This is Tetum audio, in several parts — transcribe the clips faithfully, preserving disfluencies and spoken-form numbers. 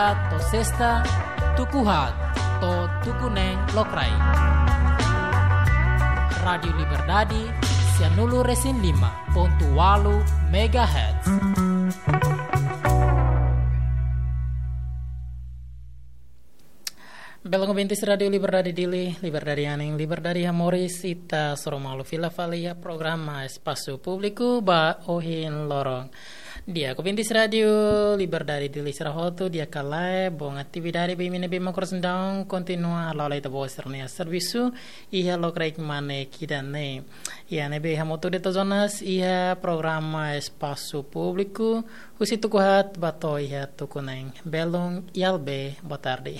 To'o sesta, tuku haat to'o tuku neen lokraik. Rádiu Liberdade, sianulu resin lima pontu ualu megahertz. Belun ouvintes Rádiu Liberdade Dili, liberdade anin, liberdade iha moris, ita hasoru malu fila fali iha programa Espasu Públiku ba ohin loron. Di'ak, ouvintes Rádiu Liberdade Dili sira hotu, di'ak ka lae, bom atividade ba imi ne'ebé mak oras ne'e daudaun kontinua hala'o ita-boot sira-nia servisu iha lokraik mane ida-ne'e. Iha ne'ebé hamutuk de'it ho Jonas iha programa Espasu Públiku, husi tuku haat ba to'o iha tuku neen. Belun Yalbe, boa tarde.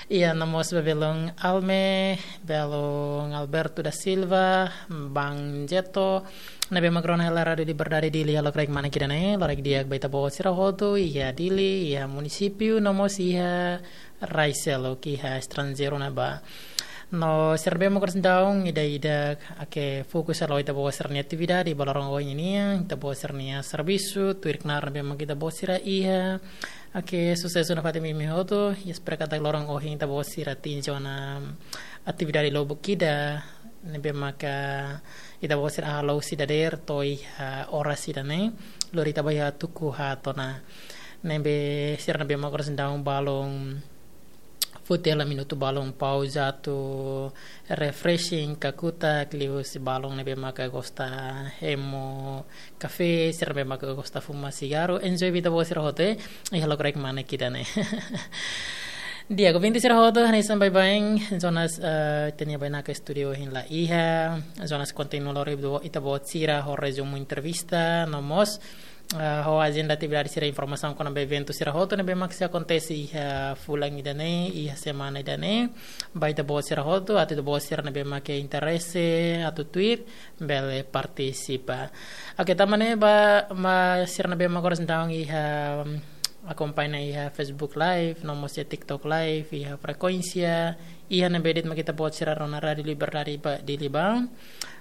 Iha no mós ba belun Alme, belun Alberto da Silva, Bang Jeto, ne'ebé mak rona hela Rádiu Liberdade Dili iha lokraik mane ida-ne'e, loraik di'ak ba ita-boot sira hotu, iha Dili, iha munisípiu, no mós iha rai seluk, iha estranjeiru ne'ebá. No sira ne'ebé mak oras ne'e daudaun ida-idak, oke, fokus hala'o ita-boot sira-nia atividade ba loron ohin nian, ita-boot sira-nia servisu, tuir knaar ne'ebé mak ita-boot sira iha. Oke, susesu nafatin ba imi hotu, i espera katak loron ohin ita-boot sira atinje ona atividade lubuk ida ne'ebé maka ita-boot sira halo husi dadeer to'o iha oras ida-ne'e, lori ita ba iha tuku haat ona. Ne'ebé sira ne'ebé mak oras ne'e daudaun balun foti hela minutu balun pauza atu refreshing, kakutak, liuhusi balun ne'ebé maka gosta hemu kafé, sira ne'ebé maka gosta fuma sigarru, enjoy ba ita-boot sira hotu, eh, iha lokraik mane ida-ne'e. Di'ak, ouvintes sira hotu, hanesan baibain, Jonas, eh, ita-nia bainaka estúdiu ohin la iha, Jonas kontinua lori ita-boot sira ho rezumu entrevista, no mós, eh, ho ajenda atividade sira, informasaun kona-ba eventu sira hotu ne'ebé mak sei akontese iha fulan ida-ne'e, iha semana ida-ne'e, ba ita-boot sira hotu, atu ita-boot sira ne'ebé mak interese atu tuir, bele partisipa. Oke, tanba ne'e ba, ba sira ne'ebé mak oras ne'e daudaun iha, mm, akompaña iha Facebook Live, no mós iha TikTok Live, iha frekuénsia, iha ne'ebé de'it mak ita-boot sira rona Rádiu Liberdade ba, Dili ba.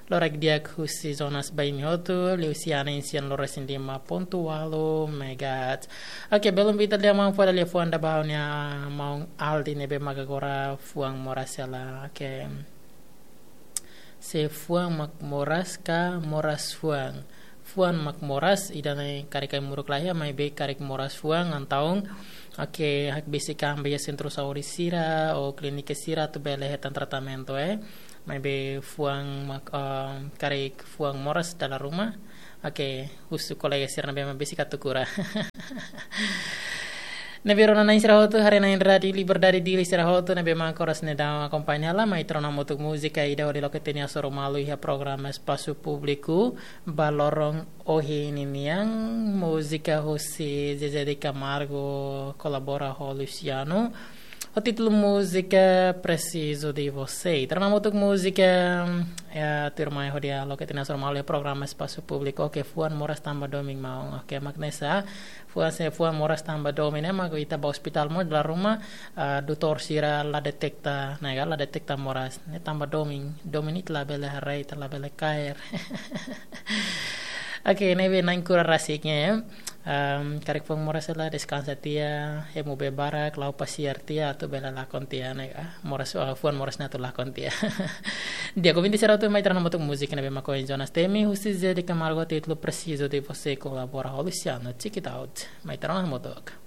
Loraik di'ak husi Jonas ba imi hotu, liuhusi anin sianulu resin lima pontu ualu megahertz. Oke, belun ba ita lia maun fó lia fuan ba ha'u-nia maun Aldi ne'ebé mak agora fuan moras hela. Oke. Se fuan mak moras ka moras fuan? Fuan mak moras, ida-ne'e karik ai-moruk la iha, maibé karik moras fuan, entaun, oke, hakbesik an ba iha sentru saúde sira, ou klínika sira, atu bele hetan tratamentu, eh. Maibé fuan mak, eh, karik fuan moras dala ruma, oke, husu kolega sira ne'ebé mak besik atu kura. Ne'ebé rona-na'in sira hotu, haree-na'in Rádiu Liberdade Dili sira hotu, ne'ebé mak oras ne'e daudaun akompaña hela, mai ita rona hamutuk múzika ida hodi loke ita-nia hasoru malu iha programa Espasu Públiku ba loron ohin nian, múzika husi Zezé de Camargo, kolabora ho Luciano. Ho títulu múzika Preciso de Você. Ita rona hamutuk múzika, eh, tuirmai hodi loke ita-nia hasoru malu iha programa Espasu Públiku. Oke, fuan moras tanba domin maun. Oke, mak ne'e sá, fuan se fuan moras tanba domin, eh, mak ita ba ospitál mós dala ruma, ah, doutór sira la deteta, ne'e ka, la deteta moras. Ne'e tanba domin, domin ita labele haree, ita labele kaer. Oke, ne'ebé na'in kura rasik, eh. Am, karik fuan moras hela, deskansa tiha, hemu bee barak, la'o pasiar tiha, atu bele lakon tiha, ne'e ka. Moras, ah, fuan moras ne'e atu lakon tiha. Di'ak, ouvinte sira hotu, mai ita rona hamutuk múzika ne'ebé mak ohin Jonas temi, husi Zezé de Camargo, títulu Preciso de Você, kolabora ho Luciano. Check it out. Mai ita rona hamutuk.